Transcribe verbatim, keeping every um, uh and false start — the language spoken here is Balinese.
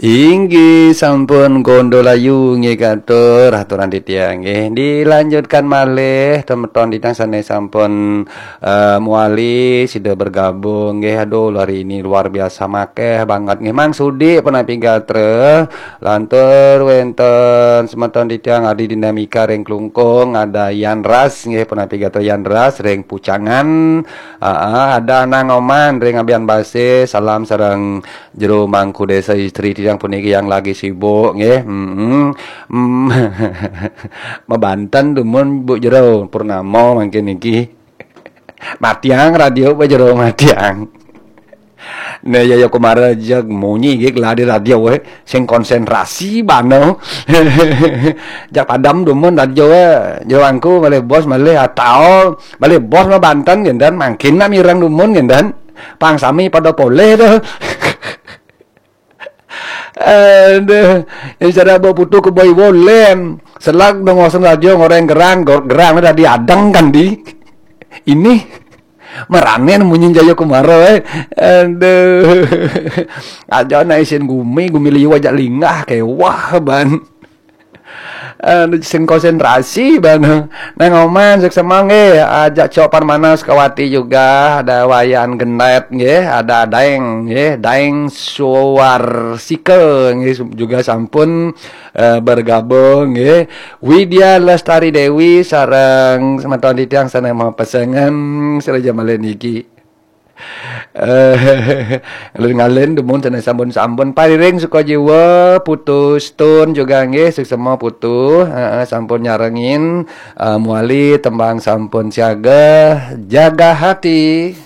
Inggih sampun Gondolayu nggih katur aturan titiang nggih. Dilanjutkan malih semeton titiang sane sampun eh, muali sida bergabung nggih. Aduh, hari ini luar biasa makeh banget nggih. Mang Sudi punapi gatra, lantur wenten semeton titiang Adi Dinamika ring Klungkung, ada Yan Ras nggih punapi gatra Yan Ras ring Pucangan. Aa, ada Nang Oman ring Abian Base, salam sareng jero mangku desa istri titiang puniki yang lagi sibuk nggih. Mm-mm. Mm. Mabanten dumun Bu Jero Purnama mangkin niki. Matiang radio apa jero matiang. Nah, ya, ya, kemarin aja munyi gig lah di radio, eh. Sing konsentrasi bana. Jak padam dumun radio, eh. Jero angku malih bos malih atau malih bos mah Banten gendan, mangkin nak mireng dumun gendan. Pang sami pada poleh tuh. Aduh, yang cara bawa putu ke boy bolem. Selak dong ngosong radio ngoreng gerang, gor- gerang udah diadeng kan di. Ini meranen munyi Jaya Kumara, eh. Aduh. Aja na isin gumi, gumi liu aja linggah kewah ban. Aduh, sing konsentrasi ban. Nang Oman suksema nggih, ajak Cok Parmana Sukawati juga, ada Wayan Gendet nggih, ada Daeng nggih, Daeng Suwarsika nggih juga sampun eh, bergabung nggih. Widya Lestari Dewi sareng semeton titiang sane mapesengan sira malih niki. Eh, ngalin-ngalin dumun sane sampun-sampun pariring suka jiwa, putus tun juga nggih, suksema putu, heeh, sampun nyarengin eh, muali tembang sampun siaga, jaga hati.